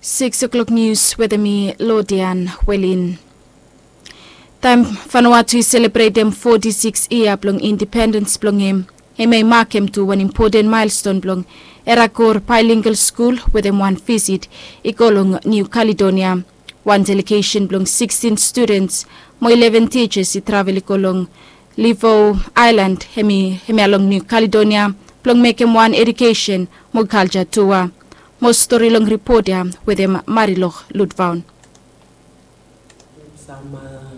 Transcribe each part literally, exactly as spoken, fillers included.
Six o'clock news wetem mi, Lodian Welin. Taem Vanuatu i selebretem foti siks yia blong independens blong hem, hemia i makem tu wan impoten maelston blong Erakor Bilingual Skul wetem wan visit i go long Niu Kaledonia. Wan delegesen blong sikstin studens mo ileven tijas i travel i go long Livo Aelan, hemi, hemia long Niu Kaledonia, blong mekem wan edukesen mo kalja tua. Mo stori long ripot ya wetem Marilok Lutvaon. Sam, a,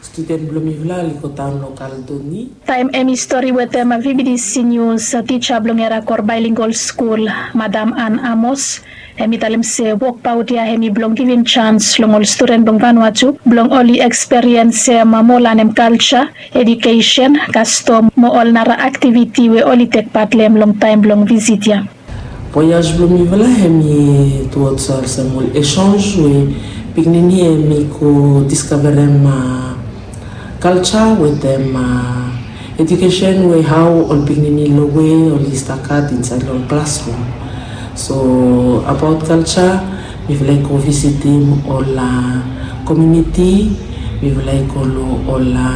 studen blong mifala oli go daon long Kaledoni. Taem hemi stori wetem, a, V B D C News, a, tija blong Erakor Bilingual Skul, Madam Ann Amos, hemi talem se wokbaot ya hemi blong givim jans long ol studen blong Vanuatu blong oli eksperiensem, a, mo lanem kalja, edukesen, kastom mo ol nara aktiviti we oli tek pat long hem long taem blong visit ya. Voyaj blong mifala hemi tuods olsem ol echanj we pikinini hemi go diskavarem, a, kalja wetem, a, edukesen we hao ol pikinini long we oli stap gat insaed long ol klasrum. So abaot kalja, mifala i go visitim ol, a, komuniti, mifala i go long ol, a,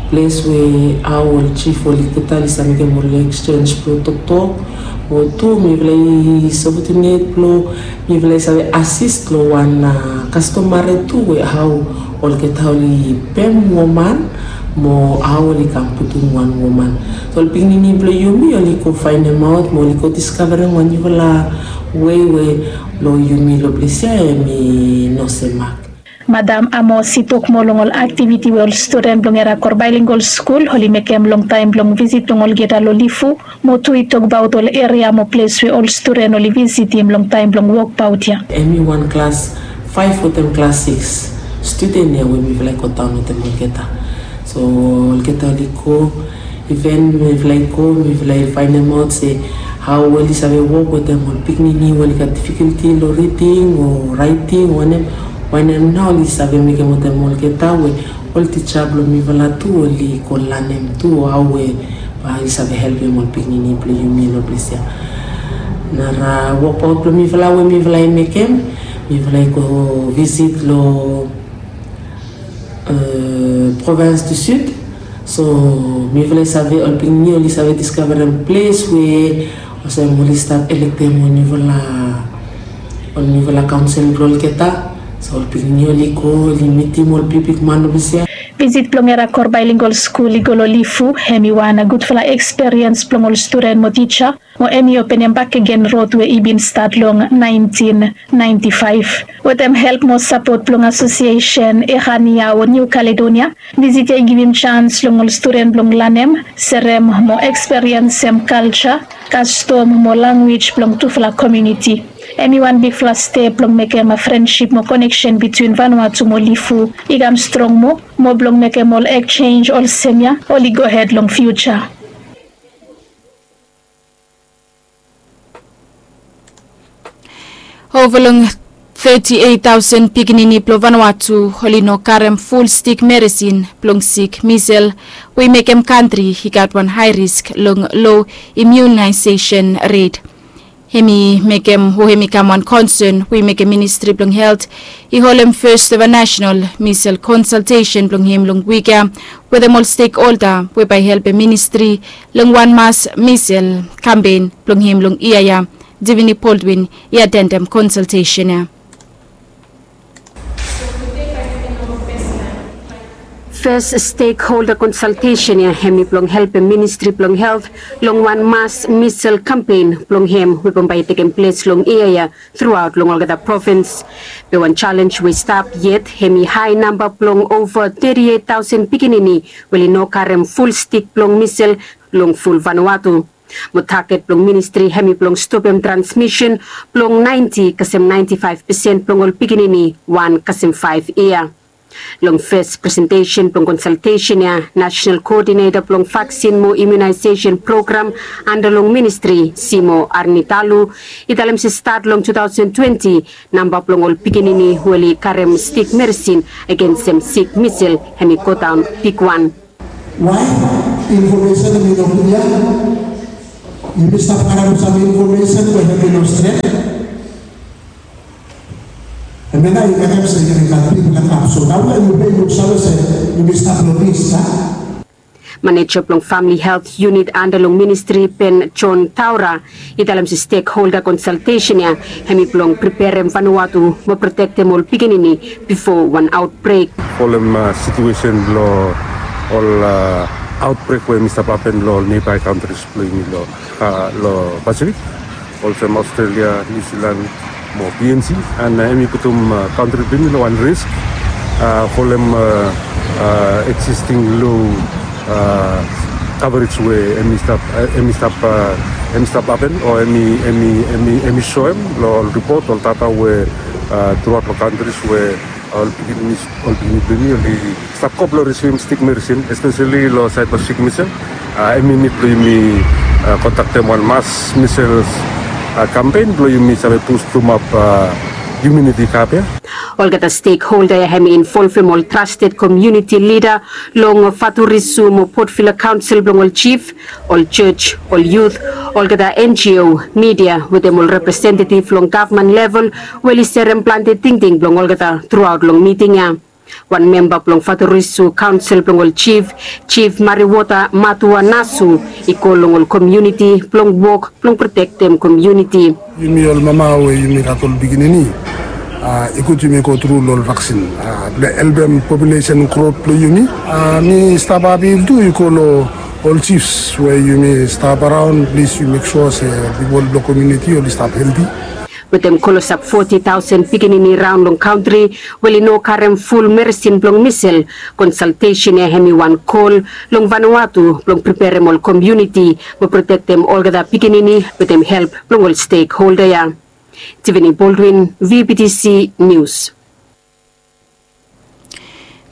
ples we hao ol jif olgeta oli save mekem ol eksenj blong toktok. Mo tu mifala i save tunet blong mifala i save asis long wan, a, kastomare tu we hao olgeta oli pem woman mo hao oli kam putum wan woman. So ol pikinini blong yumi oli go faenemaot mo oli go diskavarem wan niufala wei we long yumi long ples ya hemi no semak. Madam Amos i tok moa long ol aktiviti we ol studen blong Erakor Bilingual Skul oli mekem long taem blong visit blong olgeta long Lifu, mo tu i tokbaot ol eria mo ples we ol studen oli visitim long taem blong wokbaot ya. Hemi wan klas faef wetem klas sikis studen ya we mifala i godaon wetem olgeta. So olgeta oli go, iven mifala i go, mifala i faenemaot se hao oli save wok wetem ol pikinini we oli gat difikulti long riding o raeting o wanem, wanem nao oli save mekem wetem olgeta we ol tija blong mifala tu oli go lanem tu hao we bae oli save helpem ol pikinini blong yumi long ples ya. Nara wokbaot blong mifala we mifala i mekem, mifala i go visit long, e, Provins du Sud. So mifala i save, ol pikinini oli save diskavarem ples we olsem oli stap elektem ol niufala, ol niufala kaonsel blong olgeta. So ol pikinini oli go, oli mitim ol bigbigman long ples ya. Visit blong Erakor Bilingual Skul i go long Lifu hemi wan gudfala eksperiens blong ol studen mo tija, mo hemi openem bakegen rod we i bin stat long naentin naenti faef. Wetem help mo sapot blong asosiesen Erania o Niu Kaledonia, visit ya i givim jans long ol studen blong lanem, serem mo eksperiensem kalja, kastom mo lanwis blong tufala komuniti. Hemi wan bigfala step blong mekem frensip mo koneksen bitwin Vanuatu mo Lifu i kam strong moa, mo blong mekem ol eksenj olsem ya oli gohed long fiuja. Ova long teti eit taosen pikinini blong Vanuatu oli no karem ful stik meresin blong sik misel, we i mekem kantri i gat wan hae risk long lo imiunaesesen ret. Hemi mekem, o hemi kam wan konsen we i mekem Ministri blong Helt i holem fes eva nasenal misel konsaltesen blong hem long wik ya wetem ol stekholda we bae i helpem ministri long wan mas misel kampen blong hem long yia ya. Divini Baldwin i atendem konsaltesen ya. Fes stekholda konsaltesen ya hemi blong helpem Ministri blong Helt long wan mas misel kampen blong hem we bambae i tekem ples long yia ya truaot long olgeta provins. Be wan jalenj we i stap yet hemi hae namba blong ova teti eit taosen pikinini we oli no karem ful stik blong misel long ful Vanuatu. Mo taget blong ministri hemi blong stopem transmisen blong naenti kasem naenti faef pesen blong ol pikinini wan kasem faef yia. Long fes presentesen blong konsaltesen ya, nasenal koodineta blong vaksin mo imiunaesesen program anda long ministri, Simo Arnitalu, i talem se stat long tu taosen twenti, namba blong ol pikinini we oli karem stik meresin agensem sik misel hemi godaon bigwan. Wae infomesen hemi no klia? Yumi stap karem sam infomesen we hemi no stret. Maneja blong famili helt yunit anda long ministri, Ben John Taura, i talem se stekholda konsaltesen ya hemi blong preperem Vanuatu mo protektem ol pikinini bifo wan aotbrek. Folem situesen blong ol aotbrek we hemi stap hapen long ol nebai kantris blong yumi long Pasifik, olsem Australia, New Zealand mo PNG, and hemi putum kantri blong yumi long wan risk folem existing low coverage we hemi stap hemi stap hemi stap hapen o hemi hemi hemi hemi soem long ol ripot, ol data we truaot long kantris we ol pikinini ol pikinini blong yumi oli stap go blong risivim stik medisin, espeseli long saed blong stik medisin. Hemi nid blong yumi kontaktem wan mas misels kampen blong yumi save bustumap imuniti kap ya. Olgeta stekholda ya hemi involvem ol trasted komuniti lida long Faturisu mo Port Vila kaonsel blong ol jif, ol jos, ol yut, olgeta NGO, midia wetem ol representetiv long gavman level we oli serem plante tingting blong olgeta truaot long miting ya. Wan memba blong Faturisu kaonsel blong ol jif, Jif Mariwota Matua Nasu, i kol long ol komuniti blong wok blong protektem komuniti. Yumi ol mama we yumi gat ol pikinini, i gud yumi gotru long ol vaksin blong helpem populesen grot blong yumi. Mi stap apil tu i go long ol jifs we yumi stap araon, plis yu mek sua se pipol blong komuniti oli stap helti. Wetem klosap foti taosen pikinini raon long kantri we oli no karem ful medisin blong misel, konsaltesen ya hemi wan kol long Vanuatu blong preperem ol komuniti mo protektem olgeta pikinini wetem help blong ol stekholda ya. Tiffany Baldwin, VBTC News.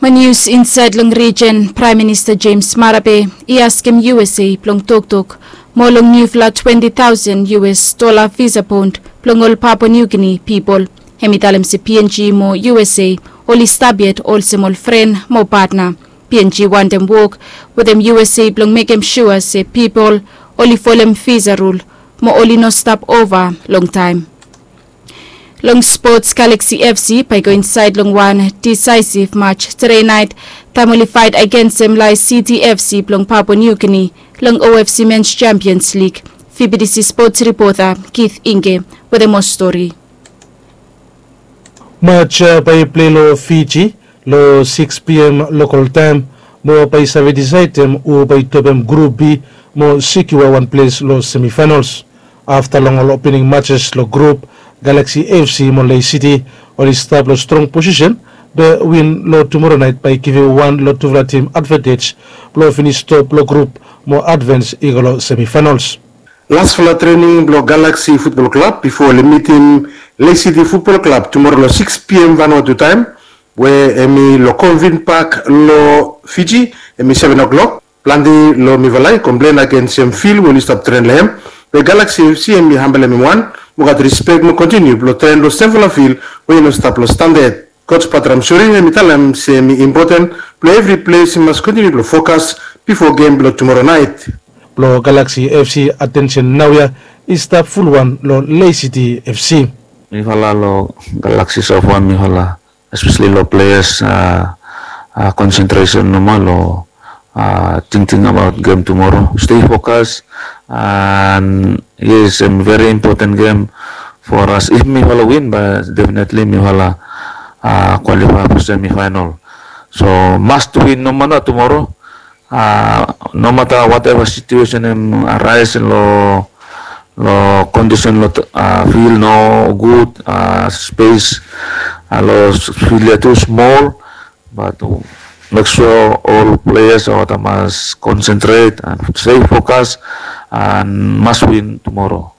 Mo nius insaed long rijen, Praem Minista James Marape i askem USA blong toktok moa long niufala twenti taosen US dola visa bond blong ol Papua New Guinea pipol. Hem i talem se PNG mo USA oli stap yet olsem ol fren mo patna. PNG wantem wok wetem USA blong mekem sua se pipol oli folem visa rul mo oli no stap ova longtaem. Long spots, Galaxy FC bae i go insaed long wan disaesiv maj tude naet taem oli faet agensem Lae City FC blong Papua New Guinea long OFC Men's Champions League. VBTC spots ripota Keith Inge wetem moa stori. Maj ya bae i plei long Fiji long sikis PM lokol taem mo bae i save disaedem hu bae i topem grup B mo sekiua wan ples long semifaenals. Afta long ol opening majes long grup, Galaxy FC mo Lae City oli stap long strong posisen, be win long tumora naet bae i givim wan long tufala tim advantej blong finis top long grup mo advens i go long semifaenals. Lasfala trening blong Galaxy Futbol Klab bifo oli mitim Lae City Futbol Klab tumora long sikis PM Vanuatu taem, we hem i long Convent Park long Fiji, hem i seven o'clock. Plante long mifala i komplen agensem fil we oli stap tren long hem. Be Galaxy FC hem i hambelem hem wan mo gat rispek mo kontiniu blong tren long semfala fil we i no stap long standad. Koj Batram Suri hem i talem se hem i impoten blong evri ples i mas kontiniu blong fokas bifo gem blong tumora naet. Blong Galaxy FC atensen naoia i stap fulwan long Lae City FC. Mifala long Galaxy sofa mifala, espeseli long pleas, konsentresen nomo long tingting abaot gem tumoro. Stei fokas, and yes, hem veri impoten gem for as. If mifala win, bae definetli mifala kwalifae for semifaenal. So must win nomata tumoro, nomata wateva situesen hem araes long long kondisen long fil no gud, spes long fil ya tu smol, bat mek sua ol pleas olgeta mas konsentret and stei fokas and mas win tumoro.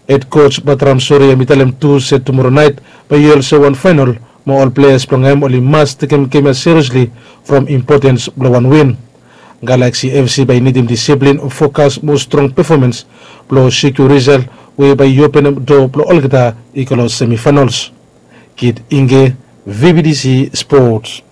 Hed koj Batram Suri hem i talem tu se tumora naet bae i olsem wan faenal mo ol pleas blong hem oli mas tekem gem ya seriesli from impotens blong wan win. Galaxy FC bae i nidim disiplin, fokas mo strong pefomans blong sekiua risal we bae i openem doa blong olgeta i go long semifaenals. Kid Inge, VBTC Sports.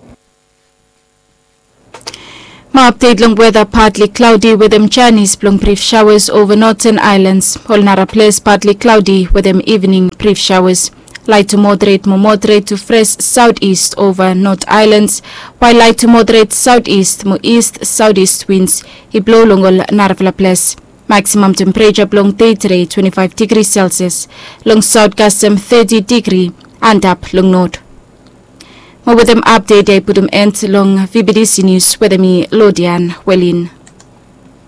Mo apdet long weta, partly cloudy wetem janis blong brif shaoas ova noten aelans. Ol nara ples partly cloudy wetem ivening brif shaoas. Light to moderate mo moderate to fresh southeast over North Islands, while light to moderate southeast mo east southeast winds i blow long ol narafala ples. Maximum temperature blong dei today twenty-five degrees Celsius, long south kasem thirty degree, antap long north. Mo wetem update ya i putum end long V B D C news wetem mi Lodian Welin.